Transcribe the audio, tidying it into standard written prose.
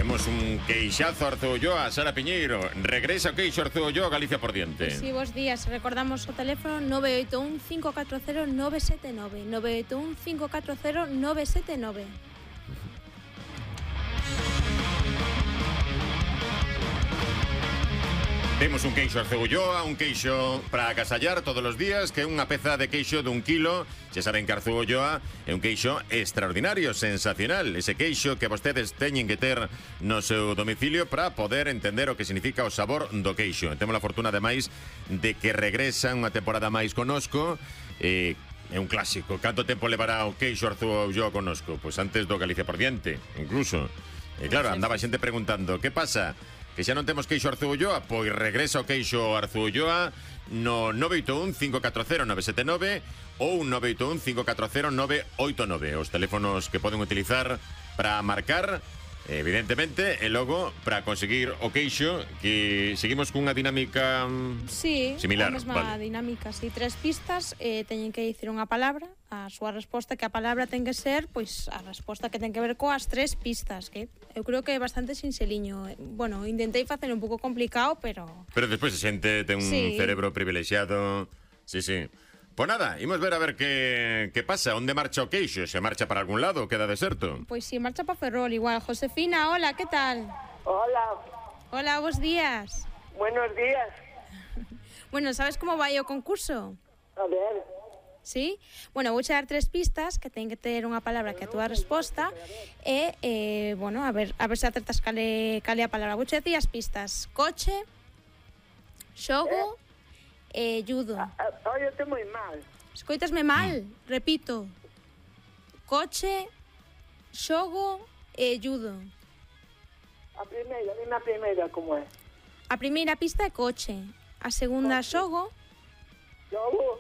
Temos un queixazo Arzu Ulloa, Sara Piñeiro. Regresa o queixo Arzu Ulloa, Galicia por diante. Sí, bons días. Recordamos o teléfono 981-540-979. 981-540-979. Temos un queixo Arzu Ulloa, un queixo para agasallar todos os días, que é unha peza de queixo dun kilo. Xa saben que Arzu Ulloa é un queixo extraordinario, sensacional. Ese queixo que vostedes teñen que ter no seu domicilio para poder entender o que significa o sabor do queixo. Temos a fortuna, ademais, de que regresa unha temporada máis conosco. É un clásico. Canto tempo levará o queixo Arzu Ulloa conosco? Pois antes do Galicia por diante, incluso. E claro, andaba xente preguntando, que pasa? Que xa non temos queixo Arzu Ulloa? Pois regresa o queixo Arzu Ulloa no 981-540-979 ou 981-540-989. Os teléfonos que poden utilizar para marcar, evidentemente, e logo para conseguir o queixo, que seguimos cunha dinámica similar. Sí, a mesma dinámica, sí. 3 pistas, teñen que dicir unha palabra, a súa resposta, que a palabra ten que ser, pois, a resposta que ten que ver coas 3 pistas, que eu creo que é bastante sinxeliño. Bueno, intentei facer un pouco complicado, pero... Pero despois a xente ten un cerebro privilexiado. Sí, sí. Pois nada, imos ver a ver que pasa. Onde marcha o queixo? Se marcha para algún lado ou queda deserto? Pois sí, marcha para Ferrol igual. Josefina, hola, que tal? Hola. Hola, bons días. Buenos días. Bueno, sabes como vai o concurso? A ver. Sí? Bueno, vou dar 3 pistas que ten que ter unha palabra que a túa resposta e, bueno, a ver se acertas cale a palabra. Vou dicir as pistas. Coche, xogo e judo. Oye, estou moi mal. Escoitasme mal? Repito. Coche, xogo e judo. Dime a primeira como é. A primeira pista é coche. A segunda, xogo. Xogo.